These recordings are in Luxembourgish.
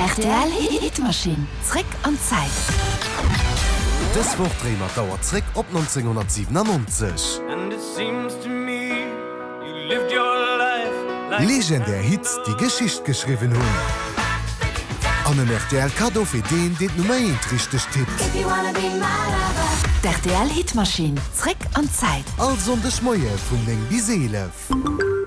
Rtl Hitmaschinn, zréck an d'Zäit. Dës Woch dréie mer d'Auer zréck op 1997. Legendär Hits, déi Geschicht geschriwwen hunn. An en rtl Kaddo fir deen, deen d'Nummer eent richteg tippt. D'RTL Hitmaschinn, zréck an d'Zäit. All Sonndeg Moie vun 9 bis 11.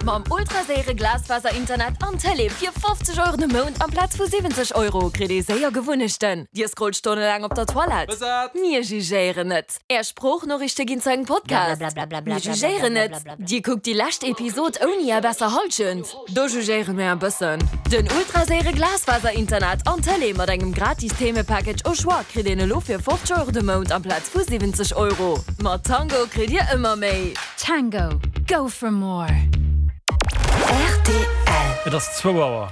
Mam ultraséiere Glasfaser-Internet an Tëlee fir 50 Euro de Mount amplaz vu 70 Euro kritt ee séier Gewunnechten. Dir scrollt stonnelaang op der Toilette? Mir jugéieren net. Är Sproochnoriichte ginn zu engem Podcast? Mir jugéieren net. Dir kuckt déi lescht Episod ouni är besser Hallschent? Do jugéiere mir e bëssen. Den ultraséiere Glasfaser-Internet an Tëlee mat engem gratis Themepackage au choix kritt een elo fir 50 Euro de Mount amplaz vu 70 Euro. Mat Tango kritt dir ëmmer méi. Tango, go for more! Rtl. Et ass zwou Auer.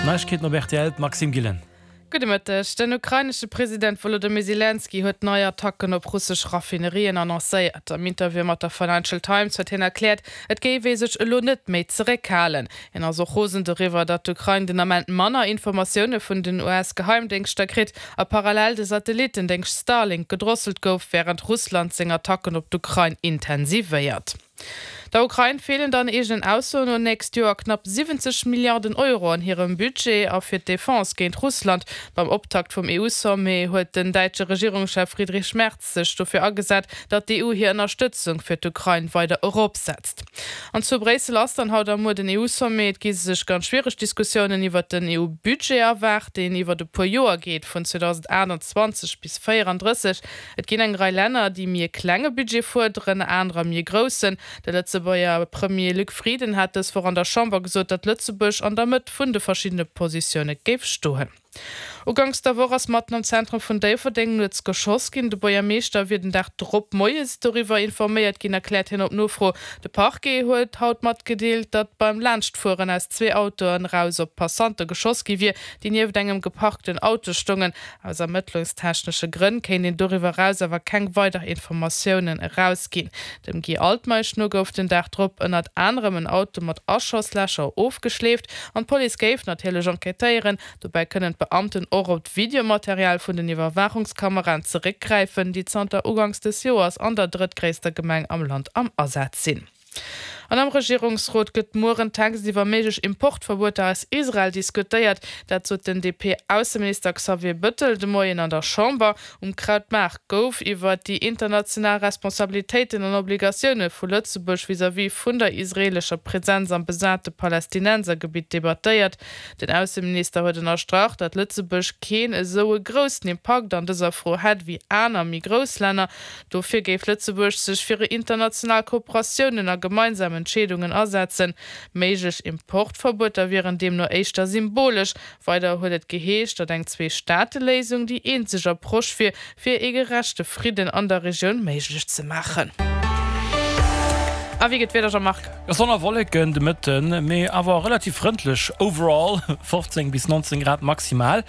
Neiegkeeten op rtl, d'Maxime Gillen. Gudde Mëtteg. Den ukrainesche President Wolodymyr Selenskyj huet nei Attacken op russesch Raffinerien annoncéiert. Am Interview mat der Financial Times huet hien erkläert, et géif ee sech elo net méi zeréckhalen. Hien ass och rosen doriwwer, datt d'Ukrain den Ament manner Informatioune vun den US-Geheimdéngschter kritt a parallel de Satellittendéngscht Starlink gedrosselt gouf, wärend Russland seng Attacken op d'Ukrain intensivéiert. Der Ukrain feelen dann eegenen Aussoen no nächst Joer knapp 70 Milliarden Euro an hirem Budget a fir d'Defense géint Russland. Beim Optakt vum EU-Sommet huet den däitsche Regierungschef Friedrich Merz sech dofir agesat, datt d'EU hir Ënnerstëtzung fir d'Ukrain weider eropsetzt. An zu Bréissel ass dann haut a muer den EU-Sommet. Et gi sech ganz schwiereg Diskussiounen iwwert den EU-Budget erwaart, deen iwwert e puer Joer geet, vun 2028 bis 34. Et ginn eng Rei Länner, déi méi e klenge Budget fuerderen, anerer méi e groussen. De Lëtzebuerger Premier Luc Frieden hat dës Woch an der Chamber gesot, datt Lëtzebuerg an der Mëtt vun de verschiddene Positioune géif stoen. Uganks der Woch ass matten am Zentrum vun Déifferdeng nuets geschoss ginn. De Buergermeeschter wier den Dag drop moies doriwwer informéiert ginn, erkläert hien op Nofro. De Parquet huet haut matgedeelt, datt beim Laanschtfueren aus zwee Autoen eraus op Passante geschoss gi wier, déi nieft engem geparkten Auto stoungen. Aus ermëttlungstechnesche Grënn kéint een doriwwer eraus awer keng weider Informatiounen erausginn. Dem Guy Altmeisch no gouf den Dag drop ënnert anerem en Auto mat Aschosslächer ofgeschleeft an d'Police géif natierlech enquêtéieren. Dobäi kënnen d'Beamten och op d'Videomaterial vun den Iwwerwaachungskameraen zeréckgräifen, déi zanter uganks des Joers an der drëttgréisster Gemeng am Land am Asaz sinn. An am Regierungsrot gëtt muer en Text iwwer méiglech Importverbueter aus Israel diskutéiert. Dat sot den DP-Ausseminister Xavier Bëttel de Moien an der Chamber. Um Krautmaart gouf iwwer déi international Responsabilitéiten an Obligatioune vu Lëtzebuerg vis-à-vis vun der israeelescher Presenz am besate Palästinensergebitt debattéiert. Den Ausseminister huet ënnerstrach, datt Lëtzebuerg keen esou e groussen Impakt an dëser Fro hätt ewéi aner méi grouss Länner. Dofir géif Lëtzebuerg sech fir international Kooperatiounen a gemeinsam Entscheedungen asetzen. Méiglech Importverbueter wieren deemno éischter symbolesch. Weider huet et geheescht, datt eng Zwee-Staate-Léisung déi eenzeg Approche wier, fir ee gerechte Fridden an der Regioun méiglech ze maachen. A wéi gëtt d'Wieder, Jean-Marc? Sonn a Wolleken de Mëtten, mee awer relativ frëndlech overall, 15 bis 19 Grad maximal.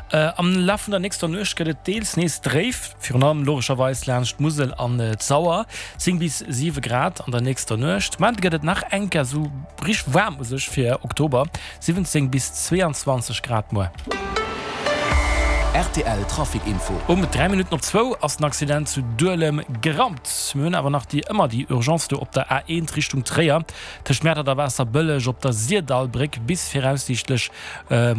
Am Laf vun der nächster Nuecht gëtt et deels nees dréif, virun allem logescherweis laanscht d'Musel an d'Sauer, 10 bis 7 Grad an der nächster Nuecht. Mende gëtt et nach eng Kéier esou richteg waarm u sech fir Oktober, 17 bis 22 Grad muer. Rtl Trafic Info. Um 3 Minutten op zwou ass den Accident zu Duelem gerammt. Mir hunn awer nach déi ëmmer déi Urgence do op der A1 Richtung Tréier tëscht Mäertert a Waasserbëlleg op der Sirdallbréck. Bis viraussiichtlech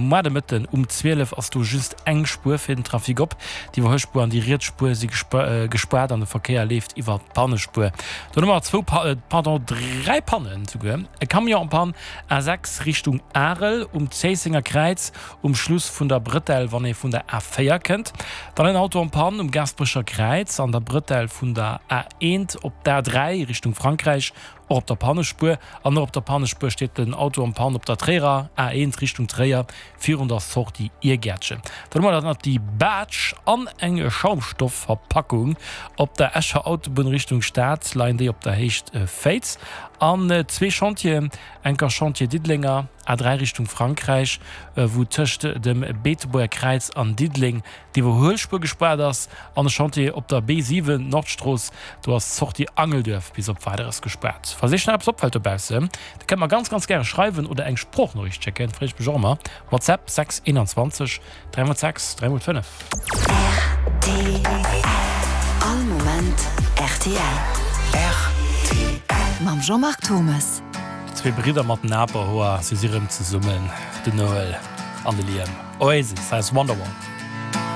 muar de Mëtten um 12 ass do just eng Spuer fir den Trafic op. D'Iwwerhuelspuer an déi riets Spuer si gespaart an de Verkéier leeft iwwer d'Pannespuer. Dann hu mer zwou, pardon, 3 Pannen souguer, e Camion en panne A6 Richtung Arel um Zéissenger Kräiz um Schluss vun der Brëtell wann ee vun der A4 kënnt. Dann en Auto en Panne um Gaasperecher Kräiz an der Brëtell vun der A1 op d'A3 Richtung Frankräich, och op der Pannespuer. An och op der Pannespuer steet den Auto en Panne op der Tréierer A1 Richtung Tréier virun der Sortie Iergäertchen. Dann hu mer dann nach déi Baatsch an eng Schaumstoffverpackung op der Escher Autobunn Richtung Stad, leien déi op der Héicht Féiz. An zwee Chantieren, enker Chantier Diddelenger A3 Richtung Frankräich, wou tëscht dem Beetebuerger Kräiz an Diddeleng d'Iwwerhuelspuer gespaart ass, an e Chantier op der B7 Nordstrooss, do ass d'Sortie Angelduerf bis op Weideres gespaart. hutt. Falls iech nach eppes opfält dobaussen, da kënnt mer ganz ganz gäre schreiwen oder eng Sproochnoriicht schécken, freeë ech mech och ëmmer. WhatsApp 6 21 3 x 6 3 x 5. Rtl. All Moment rtl. Rtl. Mam Jean-Marc Thomes. Déi zwee Bridder mat den Aperhoer, si si rëm zesummen, den Noel an de Liam. Oasis, hei ass Wonderwall.